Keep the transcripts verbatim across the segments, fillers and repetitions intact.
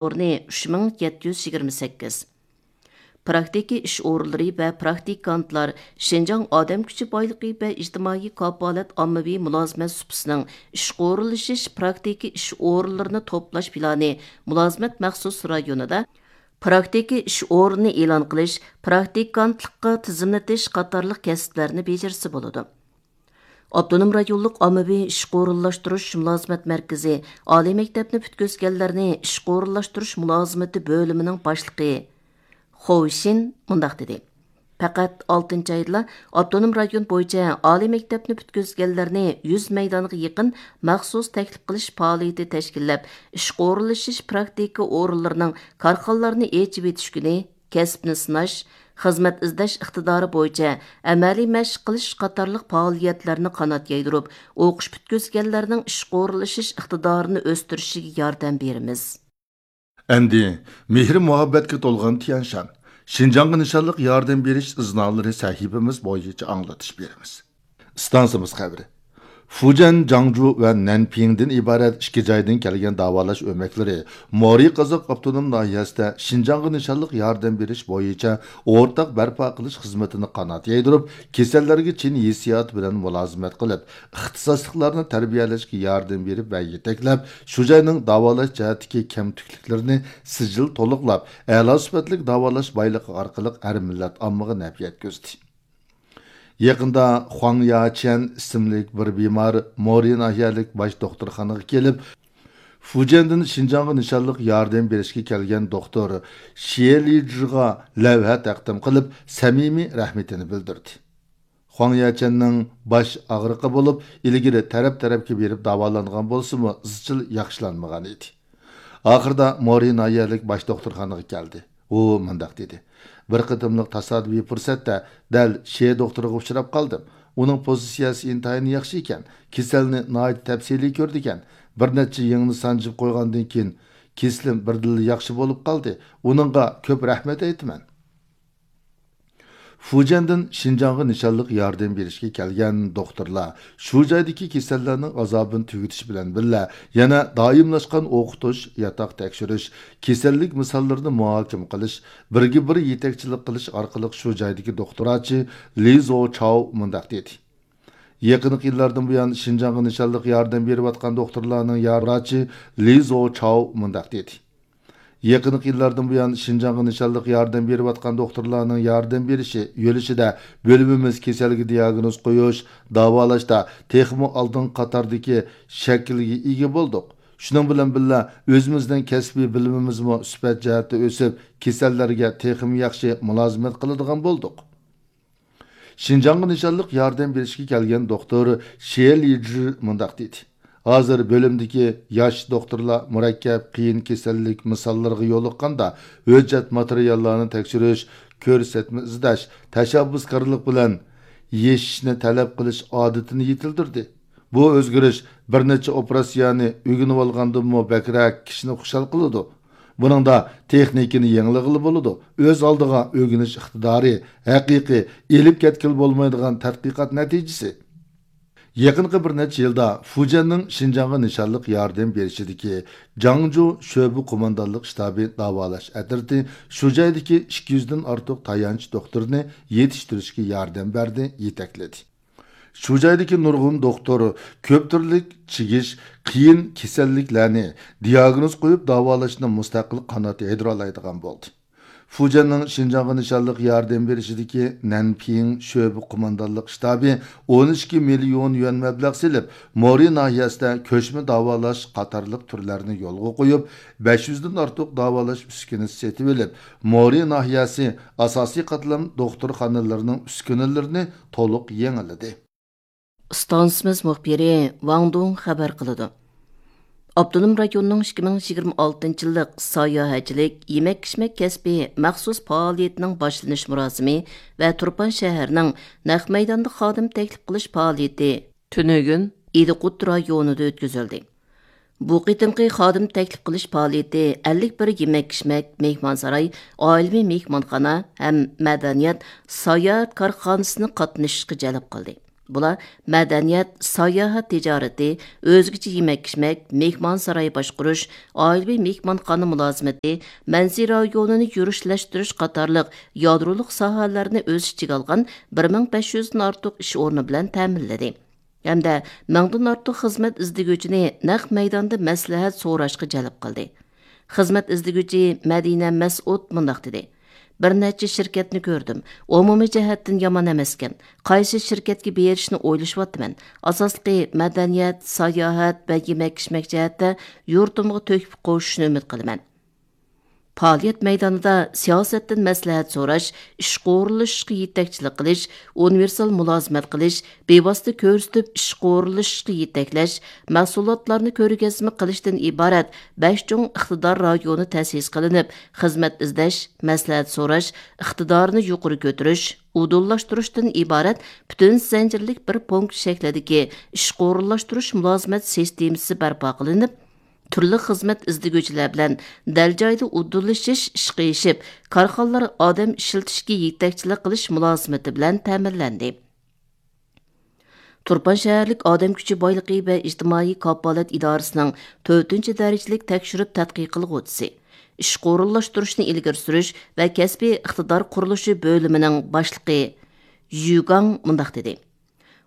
ئورنى ئۈچ مىڭ يەتتە يۈز يىگىرمە سەككىز. پراكتىكا ئىش ئورۇنلىرى ۋە پراكتىكانتلار شىنجاڭ ئادەم كۈچى بايلىقى ۋە ئىجتىمائىي كاپالەت ئاممىۋى مۇلازىمەت سۇپىسىنىڭ ئىشقا ئورۇنلىشىش پراكتىكا ئىش ئورۇنلىرىنى توپلاش پىلانى مۇلازىمەت مەخسۇس رايونىدا پراكتىكا ئىش ئورنىنى ئېلان قىلىش، پراكتىكانتلىققا تىزىملىتىش قاتارلىق كەسىپلەرنى بېجىرسە بولىدۇ. ئاپتونوم رايونلۇق ئاممىۋى ئىشقا ئورۇنلاشتۇرۇش مۇلازىمەت مەركىزى ئالىي مەكتەپنى پۈتكۈزگەنلەرنى ئىشقا ئورۇنلاشتۇرۇش مۇلازىمىتى بۆلۈمىنىڭ باشلىقى خو شىن مۇنداق دېدى: پەقەت ئالتىنچى ئايدىلا ئاپتونوم رايون بويىچە ئالىي مەكتەپنى پۈتكۈزگەنلەرنى يۈز مەيدانغا يېقىن مەخسۇس تەكلىپ قىلىش پائالىيىتى تەشكىللەپ، ئىشقا ئورۇنلىشىش پراكتىكا ئورۇنلىرىنىڭ كارخانىلارنى ئېچىۋېتىش كۈنى، كەسىپنى سىناش، خىزمەت ئىزدەش ئىقتىدارى بويىچە ئەمەلىي مەشىق قىلىش قاتارلىق پائالىيەتلەرنى قانات يايدۇرۇپ، ئوقۇش پۈتكۈزگەنلەرنىڭ ئىشقا ئورۇنلىشىش ئىقتىدارىنى ئۆستۈرۈشىگە ياردەم بېرىمىز. ئەمدى مېھرى مۇھەببەتكە تولغان تيەنشان، شىنجاڭغا نىشانلىق ياردەم بېرىش ئىزنالىرى سەھىپىمىز بويىچە ئاڭلىتىش بېرىمىز. ئىستانسىمىز خەۋىرى. فۇجيەن، جاڭجۇ ۋە نەنپىڭدىن ئىبارەت ئىككى جايدىن كەلگەن داۋالاش ئۆمەكلىرى مورى قازاق ئاپتونوم ناھىيەسىدە شىنجاڭغا نىشانلىق ياردەم بېرىش بويىچە ئورتاق بەرپا قىلىش خىزمىتىنى قانات يايدۇرۇپ، كېسەللەرگە چىن ھېسسىيات بىلەن مۇلازىمەت قىلىپ، ئىختىساسلىقلارنى تەربىيەلەشكە ياردەم بېرىپ ۋە يېتەكلەپ، شۇ جاينىڭ داۋالاش جەھەتتىكى كەمتۈكلۈكلىرىنى سىجىل تولۇقلاپ، ئەلا سۈپەتلىك داۋالاش بايلىقى ئارقىلىق ھەر مىللەت ئاممىغا نەپ يەتكۈزدى. يېقىندا خۇاڭ ياچيەن ئىسىملىك بىر بىمار مورى ناھىيەلىك باش دوختۇرخانىغا كېلىپ، فۇجيەندىن شىنجاڭغا نىشانلىق ياردەم بېرىشكە كەلگەن دوختۇر شيې لىجىغا لەۋھە تەقدىم قىلىپ، سەمىمىي رەھمىتىنى بىلدۈردى. خۇاڭ ياچيەننىڭ باش ئاغرىقى بولۇپ، ئىلگىرى تەرەپ-تەرەپكە بېرىپ داۋالانغان بولسىمۇ، ئىزچىل ياخشىلانمىغان ئىدى. ئاخىرىدا مورى ناھىيەلىك باش دوختۇرخانىغا كەلدى. ئۇ مۇنداق دېدى: بىر قېتىملىق تاسادىپىي پۇرسەتتە دەل شيې دوختۇرغا ئۇچراپ قالدىم. ئۇنىڭ پوزىتسىيەسى ئىنتايىن ياخشى ئىكەن. كېسەلنى ناھايىتى تەپسىلىي كۆرىدىكەن. بىر نەچچە يىڭنە سانجىپ قويغاندىن كېيىن، كېسىلىم بىردىنلا ياخشى بولۇپ قالدى. ئۇنىڭغا كۆپ رەھمەت ئېيتىمەن. فۇجيەندىن شىنجاڭغا نىشانلىق ياردەم بېرىشكە كەلگەن دوختۇرلار شۇ جايدىكى كېسەللەرنىڭ ئازابىنى تۈگىتىش بىلەن بىللە، يەنە دائىملاشقان ئوقۇتۇش، ياتاق تەكشۈرۈش، كېسەللىك مىساللىرىنى مۇھاكىمە قىلىش، بىرگە بىر يېتەكچىلىك قىلىش ئارقىلىق شۇ جايدىكى دوختۇرچى لى زو چاۋ مۇنداق دېدى: يېقىنقى يىللاردىن بۇيان شىنجاڭغا نىشانلىق ياردەم بېرىۋاتقان دوختۇرلارنىڭ ياردەمچى لى زو چاۋ مۇنداق دېدى: يېقىنقى يىللاردىن بۇيان شىنجاڭغا نىشانلىق ياردەم بېرىۋاتقان دوختۇرلارنىڭ ياردەم بېرىشى يۆلىشىدە بۆلۈمىمىز كېسەلگە دىياگنوز قويۇش، داۋالاشتا تېخىمۇ ئالدىنقى قاتاردىكى شەكىلگە ئىگە بولدۇق. شۇنىڭ بىلەن بىللە، ئۆزىمىزنىڭ كەسپىي بىلىمىمىزمۇ سۈپەت جەھەتتە ئۆسۈپ، كېسەللەرگە تېخىمۇ ياخشى مۇلازىمەت قىلىدىغان بولدۇق. شىنجاڭغا نىشانلىق ياردەم بېرىشكە كەلگەن دوختۇر شيې لىجى مۇنداق دېدى: ھازىر بۆلۈمدىكى ياش دوختۇرلار مۇرەككەپ، قىيىن كېسەللىك مىساللىرىغا يولۇققاندا، ھۆججەت ماتېرىياللارنى تەكشۈرۈش، كۆرسەتمە ئىزدەش، تەشەببۇسكارلىق بىلەن يېشىشنى تەلەپ قىلىش ئادىتىنى يېتىلدۈردى. بۇ ئۆزگىرىش بىر نەچچە ئوپېراتسىيەنى ئۆگىنىۋالغاندىنمۇ بەكرەك كىشىنى خۇشال قىلىدۇ. بۇنىڭدا تېخنىكىنى يېڭىلىغىلى بولىدۇ. ئۆز ئالدىغا ئۆگىنىش ئىقتىدارى، ھەقىقىي ئېلىپ كەتكىلى بولمايدىغان تەتقىقات نەتىجىسى. يېقىنقى بىر نەچچە يىلدا فۇجيەننىڭ شىنجاڭغا نىشانلىق ياردەم بېرىشىدىكى جاڭجۇ شۆبە قوماندانلىق شتابى داۋالاش ئەترىتى شۇ جايدىكى ئىككى يۈزدىن ئارتۇق تايانچ دوختۇرنى يېتىشتۈرۈشكە ياردەم بەردى، يېتەكلىدى. شۇ جايدىكى نۇرغۇن دوختۇر كۆپ تۈرلۈك چىگىش، قىيىن كېسەللىكلەرنى دىياگنوز قويۇپ داۋالاشنى مۇستەقىل قانات يايدۇرالايدىغان بولدى. فۇجيەننىڭ شىنجاڭغا نىشانلىق ياردەم بېرىشىدىكى نەنپىڭ شۆبە قوماندانلىق شتابى ئون ئىككى مىليون يۈەن مەبلەغ سېلىپ، مورى ناھىيەسىدە كۆچمە داۋالاش قاتارلىق تۈرلەرنى يولغا قويۇپ، بەش يۈزدىن ئارتۇق داۋالاش ئۈسكۈنىسى سېتىۋېلىپ، مورى ناھىيەسى ئاساسىي قاتلام دوختۇرخانىلىرىنىڭ ئۈسكۈنىلىرىنى تولۇق يېڭىلىدى. ئىستانسىمىز مۇخبىرى ۋاڭ دۇڭ خەۋەر قىلىدۇ. ئاپتونوم رايوننىڭ ئىككى مىڭ يىگىرمە ئالتىنچى يىللىق ساياھەتچىلىك، يېمەك-ئىچمەك كەسپى مەخسۇس پائالىيىتىنىڭ باشلىنىش مۇراسىمى ۋە تۇرپان شەھىرىنىڭ نەق مەيداندا خادىم تەكلىپ قىلىش پائالىيىتى تۈنۈگۈن ئىدىقۇت رايونىدا ئۆتكۈزۈلدى. بۇ قېتىمقى خادىم تەكلىپ قىلىش پائالىيىتى ئەللىك بىر يېمەك-ئىچمەك، مېھمانساراي، ئائىلىۋى مېھمانخانا ھەم مەدەنىيەت، ساياھەت كارخانىسىنى قاتنىشىشقا جەلپ قىلدى. بۇلار مەدەنىيەت، ساياھەت تىجارىتى، ئۆزگىچە يېمەك-ئىچمەك، مېھمانساراي باشقۇرۇش، ئائىلىۋى مېھمانخانا مۇلازىمىتى، مەنزىرە رايونىنى يۈرۈشلەشتۈرۈش قاتارلىق يادرولۇق ساھەلەرنى ئۆز ئىچىگە ئالغان بىر مىڭ بەش يۈزدىن ئارتۇق ئىش ئورنى بىلەن تەمىنلىدى. ھەمدە مىڭدىن ئارتۇق خىزمەت ئىزدىگۈچىنى نەق مەيداندا مەسلىھەت سوراشقا جەلپ قىلدى. خىزمەت ئىزدىگۈچى مەدىنە مەسئۇد مۇنداق دېدى: بىر نەچچە شىركەتنى كۆردۈم. ئومۇمىي جەھەتتىن يامان ئەمەسكەن. قايسى شىركەتكە بېرىشنى ئويلىشىۋاتىمەن. ئاساسلىقى مەدەنىيەت، ساياھەت ۋە يېمەك-ئىچمەك جەھەتتە يۇرتۇمغا تۆھپە قوشۇشنى ئۈمىد قىلىمەن. پائالىيەت مەيدانىدا سىياسەتتىن مەسلىھەت سوراش، ئىشقا ئورۇنلىشىشقا يېتەكچىلىك قىلىش، ئۇنىۋېرسال مۇلازىمەت قىلىش، بىۋاسىتە كۆرسىتىپ ئىشقا ئورۇنلىشىشقا يېتەكلەش، مەھسۇلاتلارنى كۆرگەزمە قىلىشتىن ئىبارەت بەش چوڭ ئىقتىدار رايونى تەسىس قىلىنىپ، خىزمەت ئىزدەش، مەسلىھەت سوراش، ئىقتىدارنى يۇقىرى كۆتۈرۈش، ئۇدۇللاشتۇرۇشتىن ئىبارەت پۈتۈن زەنجىرلىك بىر پونكىت شەكلىدىكى ئىشقا ئورۇنلاشتۇرۇش مۇلازىمەت سىستېمىسى بەرپا قىلىنىپ، تۈرلۈك خىزمەت ئىزدىگۈچىلەر بىلەن دەل جايىدا ئۇدۇللىشىش ئىشقا ئېشىپ، كارخانىلار ئادەم ئىشلىتىشكە يېتەكچىلىك قىلىش مۇلازىمىتى بىلەن تەمىنلەندى. تۇرپان شەھەرلىك ئادەم كۈچى بايلىقى ۋە ئىجتىمائىي كاپالەت ئىدارىسىنىڭ تۆتىنچى دەرىجىلىك تەكشۈرۈپ تەتقىق قىلغۇچىسى، ئىشقا ئورۇنلاشتۇرۇشنى ئىلگىرى سۈرۈش ۋە كەسپىي ئىقتىدار قۇرۇلۇشى بۆلۈمىنىڭ باشلىقى يۈگاڭ مۇنداق دېدى: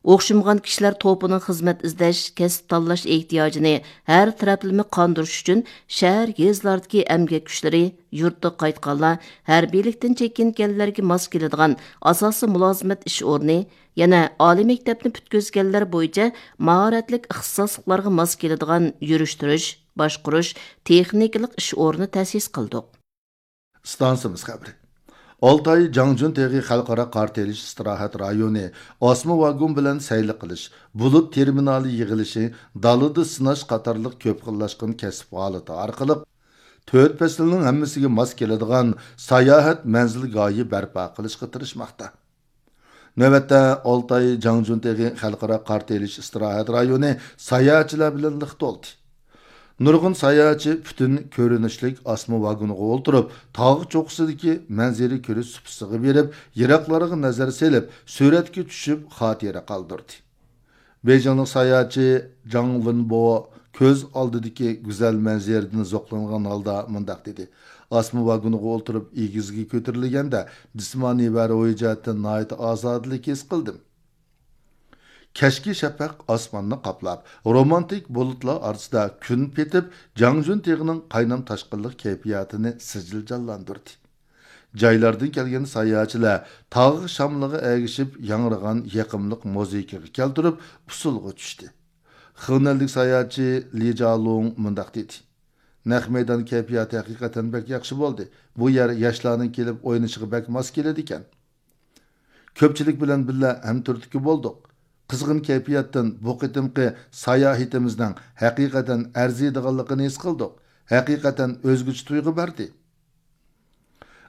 ئوخشىمىغان كىشىلەر توپىنىڭ خىزمەت ئىزدەش، كەسىپ تاللاش ئېھتىياجىنى ھەر تەرەپلىمە قاندۇرۇش ئۈچۈن، شەھەر، يېزىلاردىكى ئەمگەك كۈچلىرى، يۇرتقا قايتقانلار، ھەربىيلىكتىن چېكىنگەنلەرگە ماس كېلىدىغان ئاساسىي مۇلازىمەت ئىش ئورنى، يەنە ئالىي مەكتەپنى پۈتكۈزگەنلەر بويىچە ماھارەتلىك ئىختىساسلىقلارغا ماس كېلىدىغان يۈرۈشتۈرۈش، باشقۇرۇش، تېخنىكىلىق ئىش ئورنى تەسىس قىلدۇق. ئىستانسىمىز خەۋىرى. ئالتاي جاڭجۈن تېغى خەلقئارا قارا تېلىش ئىستىراھەت رايونى ئاسما ۋاگون بىلەن سەيلە قىلىش، بۇلۇت تېرمىنالى يىغىلىشى، دالىدا سىناش قاتارلىق كۆپ خىللاشقان كەسىپ ھالىتى ئارقىلىق تۆت پەسىلنىڭ ھەممىسىگە ماس كېلىدىغان ساياھەت مەنزىلگاھى بەرپا قىلىشقا تىرىشماقتا. نۆۋەتتە ئالتاي جاڭجۈن تېغى خەلقئارا قارا تېلىش ئىستىراھەت رايونى ساياھەتچىلەر بىلەن لىق تولدى. نۇرغۇن ساياھەتچى پۈتۈن كۆرۈنۈشلۈك ئاسما ۋاگونغا ئولتۇرۇپ، تاغ چوققىسىدىكى مەنزىرە كۆرۈش سۇپىسىغا بېرىپ، يىراقلارغا نەزەر سېلىپ، سۈرەتكە چۈشۈپ، خاتىرە قالدۇردى. بېيجىڭلىق ساياھەتچى جاڭ ۋېنبو كۆز ئالدىدىكى گۈزەل مەنزىرىدىن زوقلانغان ھالدا مۇنداق دېدى: ئاسما ۋاگونغا ئولتۇرۇپ، ئېگىزگە كۆتۈرۈلگەندە، جىسمانىي ۋە روھىي جەھەتتىن ناھايىتى ئازادىلىك ھېس قىلدىم. كەچكى شەپەق ئاسماننى قاپلاپ، رومانتىك بۇلۇتلار ئارىسىدا كۈن پېتىپ، جاڭجۈن تېغىنىڭ قاينام تاشقىنلىق كەيپىياتىنى سىجىل جانلاندۇردى. جايلاردىن كەلگەن ساياھەتچىلەر تاغ شامىلىغا ئەگىشىپ ياڭرىغان يېقىملىق مۇزىكىغا كەلتۈرۈپ، ئۇسسۇلغا چۈشتى. خېنەنلىك ساياھەتچى لى جالۇڭ مۇنداق دېدى: نەق مەيدان كەيپىياتى ھەقىقەتەن بەك ياخشى بولدى. بۇ يەر ياشلارنىڭ كېلىپ ئوينىشىغا بەك ماس كېلىدىكەن. كۆپچىلىك بىلەن بىللە ھەمتۈرتكە بولدۇق. قىزغىن كەيپىياتتىن بۇ قېتىمقى ساياھىتىمىزنىڭ ھەقىقەتەن ئەرزىيدىغانلىقىنى ھېس قىلدۇق. ھەقىقەتەن ئۆزگىچە تۇيغۇ بەردى.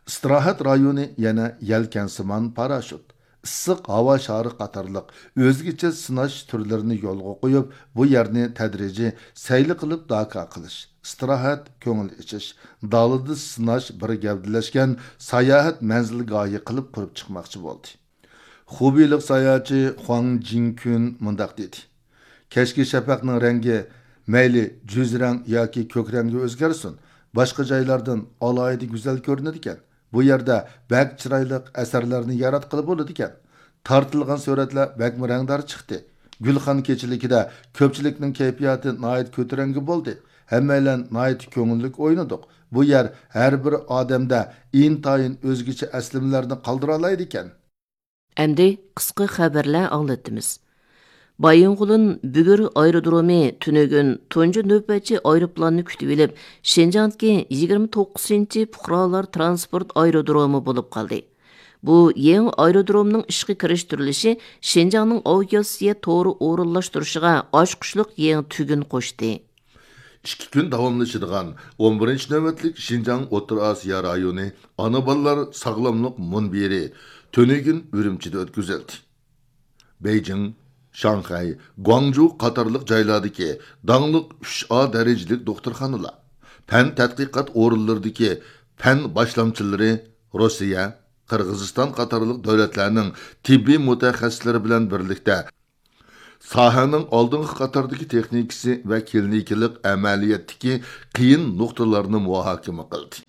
ئىستىراھەت رايونى يەنە يەلكەنسىمان پاراشوت، ئىسسىق ھاۋا شارى قاتارلىق ئۆزگىچە سىناش تۈرلىرىنى يولغا قويۇپ، بۇ يەرنى تەدرىجىي سەيلە قىلىپ داكا قىلىش، ئىستىراھەت، كۆڭۈل ئېچىش، دالىدا سىناش بىر گەۋدىلەشكەن ساياھەت مەنزىلگاھى قىلىپ قۇرۇپ چىقماقچى بولدى. خۇبېيلىق ساياھەتچى خۇاڭ جىڭكۈن مۇنداق دېدى: كەچكى شەپەقنىڭ رەڭگى مەيلى جۈز رەڭ ياكى كۆك رەڭگە ئۆزگەرسۇن، باشقا جايلاردىن ئالاھىدە گۈزەل كۆرۈنىدىكەن. بۇ يەردە بەك چىرايلىق ئەسەرلەرنى ياراتقىلى بولىدىكەن. تارتىلغان سۈرەتلەر بەكمۇ رەڭدار چىقتى. گۈلخان كېچىلىكىدە كۆپچىلىكنىڭ كەيپىياتى ناھايىتى كۆتۈرەڭگۈ بولدى. ھەممەيلەن ناھايىتى كۆڭۈللۈك ئوينىدۇق. بۇ يەر ھەر بىر ئادەمدە ئىنتايىن ئۆزگىچە ئەسلىمىلەرنى قالدۇرالايدىكەن. ئەمدى قىسقا خەۋەرلەر ئاڭلىتىمىز. بايىنغولىن بۈگۈر ئايرودرومى تۈنۈگۈن تۇنجى نۆۋەتچى ئايروپىلاننى كۈتۈۋېلىپ، شىنجاڭدىكى يىگىرمە توققۇزىنچى پۇقرالار ترانسپورت ئايرودرومى بولۇپ قالدى. بۇ يېڭى ئايرودرومنىڭ ئىشقا كىرىشتۈرۈلۈشى شىنجاڭنىڭ ئاۋىئاتسىيە تورى ئورۇنلاشتۇرۇشىغا ئاچقۇچلۇق يېڭى تۈگۈن قوشتى. ئىككى كۈن داۋاملىشىدىغان ئون بىرىنچى نۆۋەتلىك شىنجاڭ ئوتتۇرا ئاسىيا رايونى ئانا بالىلار ساغلاملىق مۇنبىرى تۈنۈگۈن ئۈرۈمچىدە ئۆتكۈزۈلدى. بېيجىڭ، شاڭخەي، گۇاڭجۇ قاتارلىق جايلاردىكى داڭلىق ئۈچ ئا دەرىجىلىك دوختۇرخانىلار، پەن تەتقىقات ئورۇنلىرىدىكى پەن باشلامچىلىرى، روسىيە، قىرغىزىستان قاتارلىق دۆلەتلەرنىڭ تېببىي مۇتەخەسسىسلىرى بىلەن بىرلىكتە ساھەنىڭ ئالدىنقى قاتاردىكى تېخنىكىسى ۋە كلىنىكىلىق ئەمەلىيەتتىكى قىيىن نۇقتىلارنى مۇھاكىمە قىلدى.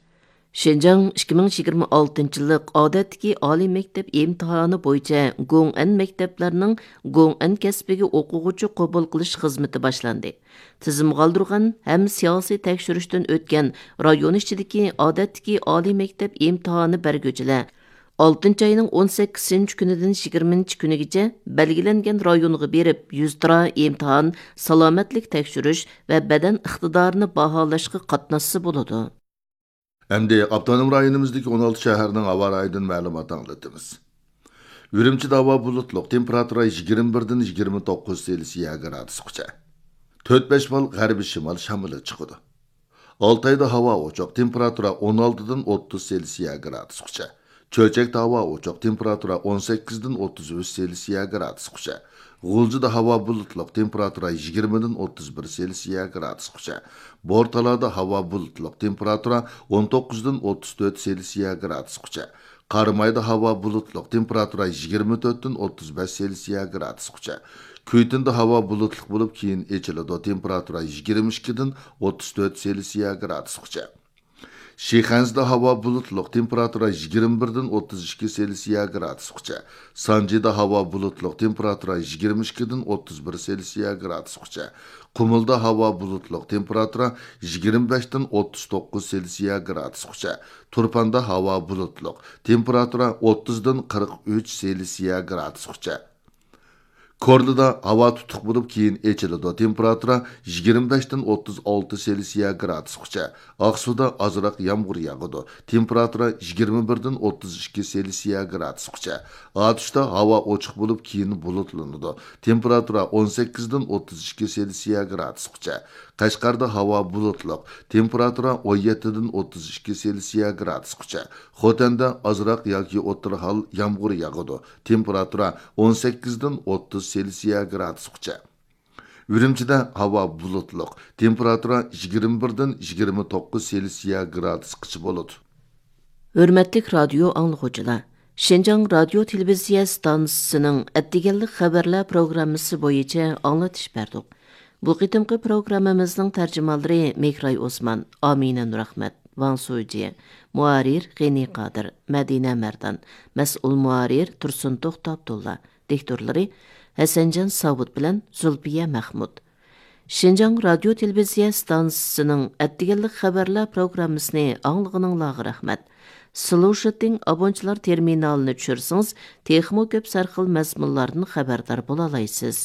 شىنجاڭ ئىككى مىڭ يىگىرمە ئالتىنچى يىللىق ئادەتتىكى ئالىي مەكتەپ ئىمتىھانى بويىچە گوڭئەن مەكتەپلەرنىڭ گوڭئەن كەسپىگە ئوقۇغۇچى قوبۇل قىلىش خىزمىتى باشلاندى. تىزىمغا ئالدۇرغان ھەم سىياسىي تەكشۈرۈشتىن ئۆتكەن رايون ئىچىدىكى ئادەتتىكى ئالىي مەكتەپ ئىمتىھانى بەرگۈچىلەر ئالتىنچى ئاينىڭ ئون سەككىزىنچى كۈنىدىن يىگىرمىنچى كۈنىگىچە بەلگىلەنگەن رايونغا بېرىپ، يۈزتۇرا ئىمتىھان، سالامەتلىك تەكشۈرۈش ۋە بەدەن ئىقتىدارىنى باھالاشقا قاتناشسا بولىدۇ. ئەمدى ئاپتونوم رايونىمىزدىكى ئون ئالتە شەھەرنىڭ ھاۋا رايىدىن مەلۇمات ئاڭلىتىمىز. ئۈرۈمچىدە ھاۋا بۇلۇتلۇق، تېمپېراتۇرا يىگىرمە بىردىن يىگىرمە توققۇز سېلسىيە گرادۇسقىچە. تۆت بەش بال غەربىي شىمال شامىلى چىقىدۇ. ئالتايدا ھاۋا ئوچۇق، تېمپېراتۇرا ئون ئالتىدىن ئوتتۇز سېلسىيە گرادۇسقىچە. چۆچەكتە ھاۋا ئوچۇق، تېمپېراتۇرا ئون سەككىزدىن ئوتتۇز ئۈچ سېلسىيە گرادۇسقىچە. غۇلجىدا ھاۋا بۇلۇتلۇق، تېمپېراتۇرا يىگىرمىدىن ئوتتۇز بىر سېلسىيە گرادۇسقىچە. بورتالادا ھاۋا بۇلۇتلۇق، تېمپېراتۇرا ئون توققۇزدىن ئوتتۇز تۆت سېلسىيە گرادۇسقىچە. قارامايدا ھاۋا بۇلۇتلۇق، تېمپېراتۇرا يىگىرمە تۆتتىن ئوتتۇز بەش سېلسىيە گرادۇسقىچە. كۈيتۈندە ھاۋا بۇلۇتلۇق بولۇپ، كېيىن ئېچىلىدۇ، تېمپېراتۇرا يىگىرمە ئىككىدىن ئوتتۇز تۆت سېلسىيە گرادۇسقىچە. شىخەنزىدە ھاۋا بۇلۇتلۇق، تېمپېراتۇرا يىگىرمە بىردىن ئوتتۇز ئىككى سېلسىيە گرادۇسقىچە. سانجىدا ھاۋا بۇلۇتلۇق، تېمپېراتۇرا يىگىرمە ئىككىدىن ئوتتۇز بىر سېلسىيە گرادۇسقىچە. قۇمۇلدا ھاۋا بۇلۇتلۇق، تېمپېراتۇرا يىگىرمە بەشتىن ئوتتۇز توققۇز سېلسىيە گرادۇسقىچە. تۇرپاندا ھاۋا بۇلۇتلۇق، تېمپېراتۇرا ئوتتۇزدىن قىرىق ئۈچ سېلسىيە گرادۇسقىچە. كورلىدا ھاۋا تۇتۇق بولۇپ، كېيىن ئېچىلىدۇ، تېمپېراتۇرا يىگىرمە بەشتىن ئوتتۇز ئالتە سېلسىيە گرادۇسقىچە. ئاقسۇدا ئازراق يامغۇر ياغىدۇ، تېمپېراتۇرا يىگىرمە بىردىن ئوتتۇز ئىككى سېلسىيە گرادۇسقىچە. ئاتۇشتا ھاۋا ئوچۇق بولۇپ، كېيىن بۇلۇتلىنىدۇ، تېمپېراتۇرا ئون سەككىزدىن ئوتتۇز ئىككى سېلسىيە گرادۇسقىچە. قەشقەردە ھاۋا بۇلۇتلۇق، تېمپېراتۇرا ئون يەتتىدىن ئوتتۇز ئىككى سېلسىيە گرادۇسقىچە. خوتەندە ئازراق ياكى ئوتتۇرا ھال يامغۇر ياغىدۇ، تېمپېراتۇرا ئون سەككىزدىن ئوتتۇز سېلسىيە گرادۇسقىچە. ئۈرۈمچىدە ھاۋا بۇلۇتلۇق، تېمپېراتۇرا يىگىرمە بىردىن يىگىرمە توققۇز سېلسىيە گرادۇسقىچە بولىدۇ. ھۆرمەتلىك رادىيو ئاڭلىغۇچىلار، شىنجاڭ رادىيو تېلېۋىزىيە ئىستانسىسىنىڭ ئەتىگەنلىك خەۋەرلەر پروگراممىسى بويىچە ئاڭلىتىش بەردۇق. بۇ قېتىمقى پروگراممىمىزنىڭ تەرجىمانلىرى مېھراي ئوسمان، ئامىنە نۇرئەخمەت، ۋاڭ سۇجى، مۇھەررىر غېنى قادىر، مەدىنە مەردان، مەسئۇل مۇھەررىر تۇرسۇن توختى ئابدۇللا، دىكتورلىرى ھەسەنجان ساۋۇت بىلەن زۇلپىيە مەخمۇت. شىنجاڭ رادىيو تېلېۋىزىيە ئىستانسىسىنىڭ ئەتىگەنلىك خەۋەرلەر پروگراممىسىنى ئاڭلىغىنىڭلارغا رەھمەت. سلۇشىتىڭ ئابونچىلار تېرمىنالىنى چۈشۈرسىڭىز، تېخىمۇ كۆپ سەرخىل مەزمۇنلاردىن خەۋەردار بولالايسىز.